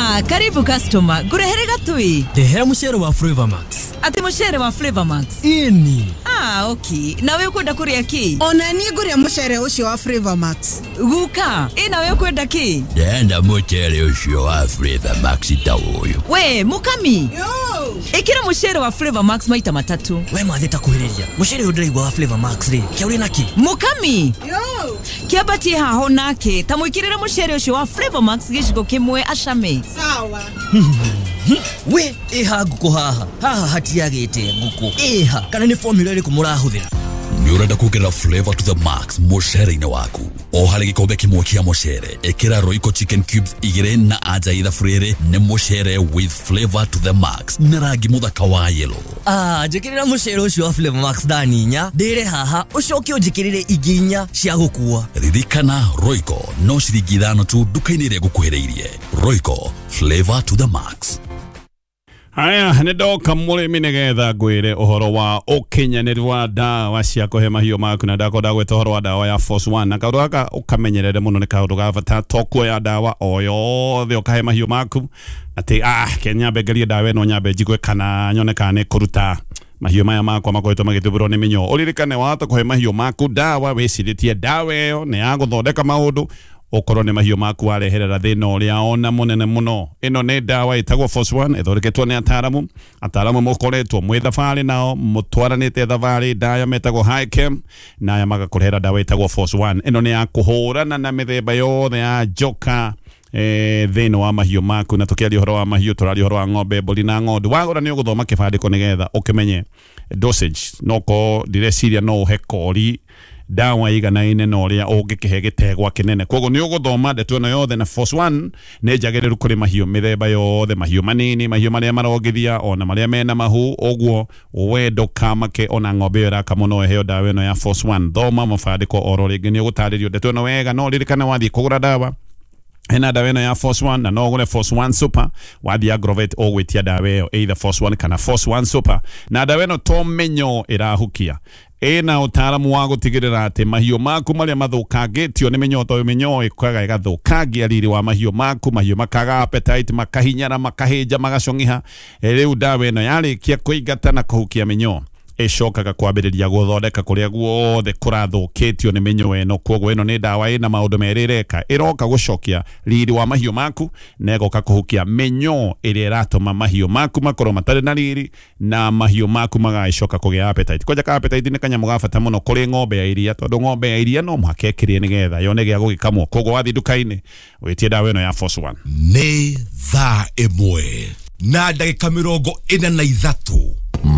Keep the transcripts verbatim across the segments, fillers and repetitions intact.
Ah, karibu customer. Ngurehere gatui. Ndehera mucere wa Flavor Max. Ati mucere wa Flavor Max. Ini. Ah, okay. Nawe ukwenda kuria ki? Ona niĩ ngũrĩa mucere ũcio wa Flavor Max. Guka, ĩ nawe ukwenda ki? Ndenda mucere ũcio wa Flavor Max ta ũyũ. We, mukami. Yo. Ikira mucere wa Flavor Max maita matatu. We mathi ta kuhĩrĩria. Mucere ũyũ ndĩraigua wa Flavor Max rĩ, kĩa ũrĩ naki? Mukami. Yo. Kĩambatie haho nake, ta mwĩkĩrĩre mucere ũcio wa Flavor Max gĩcigo kĩmwe acame. Sawa. We, ĩha ngũkũ haha. Haha hatiagĩte ngũkũ. Ĩha, kana nĩ formula ĩrĩkũ mũrahũthĩra? Nĩ ũrenda kuongerera flavor to the max mũcere-inĩ waku. O harĩ gĩkombe kĩmwe kĩa mũcere, ĩkĩra Royco chicken cubes igĩrĩ na anja ithabu rĩrĩ nĩ mũcere with flavor to the max na rangi mũthaka wa yellow. Ah, njĩkĩrĩra mũcere ũcio wa Flavor Max thani inya, ndĩre haha, ũcoke ũnjĩkĩrĩre ingĩ inya cia gũkua. Ririkana Royco no ciringi ithano tu nduka-inĩ ĩrĩa ĩgũkuhĩrĩirie. Royco, flavor to the max. Haya, nĩ ndoka mũrĩmi nĩgetha ngwĩre ũhoro wa ũkinyanĩru wa ndawa cia kũhe mahiũ maku, na ndakorwo ndagwĩta ũhoro wa ndawa ya Force One, na kaũndũ gaka ũkamenyerere mũno nĩ kaũndũ ga bata, to kuoya ndawa o yothe ũkahe mahiũ maku atĩ ah, ke nyambe ngerie ndawa ĩno, nyambe njigue kana nyone kana nĩ kũruta mahiũ maya makwa makoretwo magĩthumbũrwo nĩ mĩnyoo. Ũririkane wahota kũhe mahiũ maku ndawa wĩcirĩtie ndawa ĩyo nĩ ya gũthondeka maũndũ, okorwo nĩ mahiũ maku wareherera thĩna ũrĩa ona mũnene mũno. Ĩno nĩ ndawa ĩtagwo Force One, ĩthondeketwo nĩ ataaramu, ataaramu mũkoretwo mwĩ thabarĩ nao, mũtwaranĩte thabarĩ ndaya metagwo Hichem, na aya magakũrehera ndawa ĩtagwo Force One. Ĩno nĩ ya kũhũrana na mĩthemba yothe ya njoka eh, thĩinĩ wa mahiũ maku. Na tũkĩaria ũhoro wa mahiũ tũraria ũhoro wa ng'ombe, mbũri na ng'ondu. Wagũra nĩ ũgũthoma kĩbandĩko nĩgetha ũkĩmenye dosage. No ko ndĩreciria no ũhe kori ndawa iganaine na ũrĩa ũngĩkĩhe gĩtegwa kĩnene. Koguo nĩ ũgũthoma ndeto ĩno yothe, na Force One nĩ njagĩrĩru kũrĩ mahiũ mĩthemba yothe, mahiũ manini, mahiũ marĩa marongithia, ona marĩa mena mahu. Ũguo we ndũkamake, ona ng'ombe ĩyo ĩrakamwo no ĩheo ndawa ĩno ya Force One. Thoma mabandĩko oro rĩngĩ, nĩ ũgũtarĩrio ndeto ĩno wega. No ririkana wathiĩ kũgũra ndawa, hena ndawa ĩno ya Force One, na no ũgũre Force One Super. Wathiĩ Agrovet ũgwĩtia ndawa ĩyo either Force One kana Force One Super. Na ndawa ĩno to mĩnyoo ĩrahukia, ĩna ũtaaramu wa gũtigĩrĩra atĩ mahiũ maku marĩa mathũkangĩtio nĩ mĩnyoo, tondũ mĩnyoo ĩkaga ĩgathũkangia riri wa mahiũ maku, mahiũ makaga appetite, makahinyara, makahĩnja, magacong'iha. Rĩu ndawa ĩno yarĩkia kũingata na kũhukia mĩnyoo, ĩcokaga kwambĩrĩria gũthondeka kũrĩa guothe kũrathũkĩtio nĩ mĩnyoo ĩno. Koguo ĩno nĩ ndawa ĩna maũndũ merĩ ĩreka, ĩroka gũcokia riri wa mahiũ maku na ĩgoka kũhukia mĩnyoo ĩrĩa ĩratũma mahiũ maku makorwo matarĩ na riri, na mahiũ maku magagĩcoka kũgĩa appetite. Kwanja ka appetite nĩ kanyamũ ga bata mũno kũrĩ ng'ombe ya iria, tondũ ng'ombe ya iria no mũhaka ĩkĩrĩe nĩgetha yone gĩa gũgĩkamwo. Koguo wathiĩ nduka-inĩ wĩtie ndawa ĩno ya Force One. Nĩ thaa ĩmwe na ndagĩka mĩrongo ĩna na ithatũ.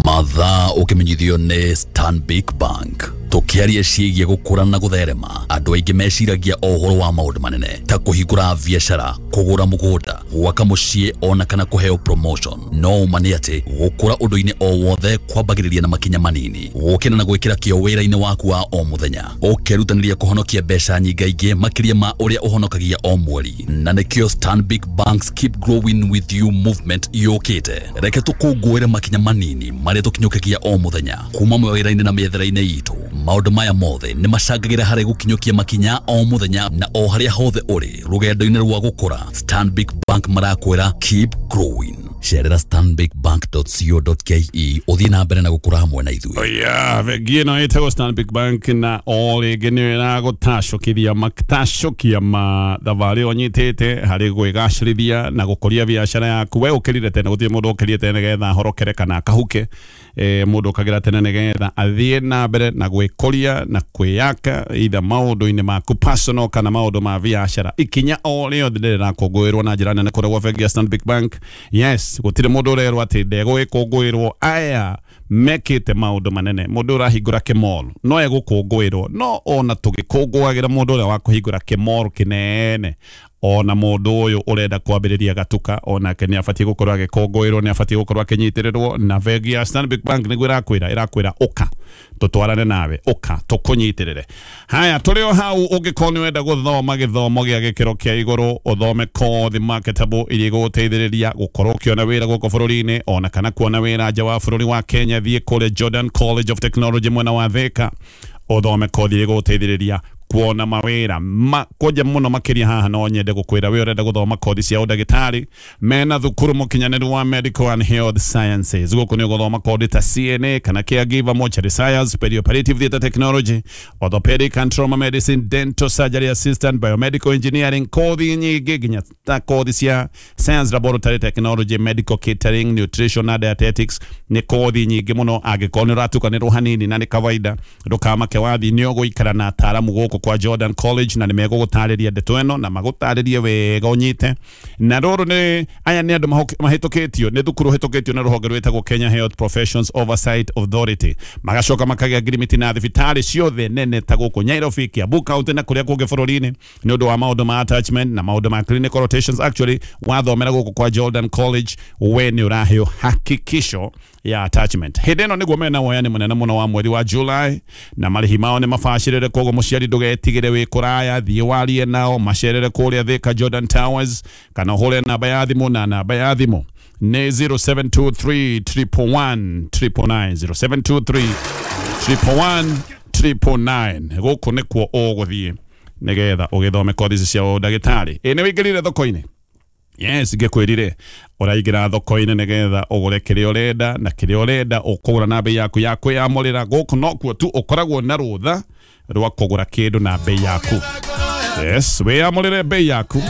Mathaa ũkĩmenyithio nĩ Stanbic Bank. Tũkĩaria ciĩgiĩ gũkũra na gũtherema, andũ aingĩ meciragia o ũhoro wa maũndũ manene ta kũhingũra biacara, kũgũra mũgũnda, gwaka mũciĩ, ona kana kũheo promotion. No ũma nĩ atĩ gũkũra ũndũ-inĩ o wothe kwambagĩrĩria na makinya manini, gũkĩra na gwĩkĩra kĩo wĩra-inĩ waku wa o mũthenya, ũkerutanĩria kũhonokia mbeca nyingaingĩ makĩria ma ũrĩa ũhonokagia o mweri. Na nĩkĩo Stanbic Bank's Keep Growing With You movement yũkĩte. Reke tũkũngũĩre makinya manini marĩa tũkinyũkagia o mũthenya kuma mawĩra-inĩ na mĩethere-inĩ itũ. Maũndũ maya mothe nĩ macangagĩra harĩ gũkinyũkia makinya o mũthenya na o harĩa hothe ũrĩ rũgendo-inĩ rwa gũkũra. Stanbic Bank marakwĩra keep growing. Cerera stanbic bank dot co dot ke ũthiĩ na mbere na gũkũra hamwe na ithuĩ. Oya, bengi ĩno ĩtagwo Stanbic Bank, na o rĩngĩ nĩ ĩragũtacũkithia matacũkia ma thabarĩ ũnyitĩte harĩ gwĩgacĩrithia na gũkũria biacara yaku. We ũkĩrire tene, gũtirĩ mũndũ ũkĩrire tene nĩgetha ahorokere kana akahuke. Eh, mũndũ ũkagĩra tene nĩgetha athiĩ na mbere na gwĩkũria na kwĩyaka either maũndũ-inĩ maku personal kana maũndũ ma biacara. Ikinya o rĩothe rĩrakũngũĩrwo na njĩra nene kũrĩa gwa bengi ya Stanbic Bank. Yes, gũtirĩ mũndũ ũrerwo atĩ ndegũgĩkũngũĩrwo. Aya mekĩte maũndũ manene. Mũndũ ũrahingũra kĩmall no egũkũngũĩrwo, no ona tũgĩkũngũagĩra mũndũ ũrĩa wa kũhingũra kĩmall kĩnene, ona mũndũ ũyũ ũrenda kwambĩrĩria gatuka onake nĩ abatiĩ gũkorwo agĩkũngũĩrwo, nĩ abatiĩ gũkorwo akĩnyitĩrĩrwo. Na bengi ya Stanbic Bank nĩguo ĩrakwĩra, ĩrakwĩra ũka tũtwarane nawe, ũka tũkũnyitĩrĩre. Haya, tũrĩ o hau, ũngĩkorwo nĩ wenda gũthoma gĩthomo gĩa gĩkĩro kĩa igũrũ, ũthome kothi marketable iria igũgũteithĩrĩria gũkorwo ũkĩona wĩra gũkũ bũrũri-inĩ ona kana kuona wĩra nja wa bũrũri wa Kenya, thiĩ kũrĩa Jordan College of Technology mwena wa Thika, ũthome kothi iria igũgũteithĩrĩria Kuona mawĩra ma kwanja mũno makĩria haha no nyende gũkwĩra we ũrenda gũthoma kothi cia ũndagĩtarĩ mena thukuru mũkinyanĩru wa medical and health sciences. Gũkũ nĩ ũgũthoma kothi ta C N A kana caregiver, mortuary science, perioperative theatre technology, orthopedic and trauma medicine, dental surgery assistant, biomedical engineering, kothi nyingĩ nginya ta kothi cia science, laboratory technology, medical catering, nutrition na dietetics. Nĩ kothi nyingĩ mũno. Angĩkorwo nĩ ũratukanĩrwo hanini na nĩ kawaida, ndũkamake, wathi nĩ ũgũikara na ataaramu gũkũ kwa Jordan College na nĩ megũgũtarĩria ndeto ĩno na magũtarĩrie wega ũnyite. Na rũrũ nĩ aya nĩ andũ mahũk- mahĩtũkĩtio nĩ thukuru hĩtũkĩtio nĩ rũhonge rwĩtagwo Kenya Health Professions Oversight Authority, magacoka makagĩa ngirimiti na thibitarĩ ciothe nene ta gũkũ Nairobi, Kiambu County na kũrĩa kũngĩ bũrũri-inĩ nĩ ũndũ wa maũndũ ma attachment na maũndũ ma clinical rotations. Actually, wathomera gũkũ kwa Jordan College we nĩ ũraheo hakikisho ya attachment. Hĩndĩ ĩno nĩguo mena woyani mũnene mũno wa mweri wa July na marĩhi mao nĩ mabacĩrĩre, koguo mũciari ndũgetigĩre wĩ kũraya, thiĩ warie nao, macerere kũrĩa Thika Jordan Towers kana ũhũre namba ya thimũ, na namba ya thimũ nĩ zero seven two three one one nine nine nine, zero seven two three one one nine nine nine. Gũkũ nĩkuo ũgũthiĩ nĩgetha ũgĩthome kothi ici cia ũndagĩtarĩ. Ĩ nĩ wĩingĩrire thoko-inĩ? Yes, ngĩkwĩrire ũraingĩra thoko-inĩ nĩgetha ũgũre kĩrĩa ũrenda na kĩrĩa ũrenda ũkũgũra na bei yaku ya kwĩyamũrĩra. Gũkũ nokuo tu ũkoragwo na rũtha rwa kũgũra kĩndũ na bei yaku. Yes, wĩyamũrĩre bei yaku.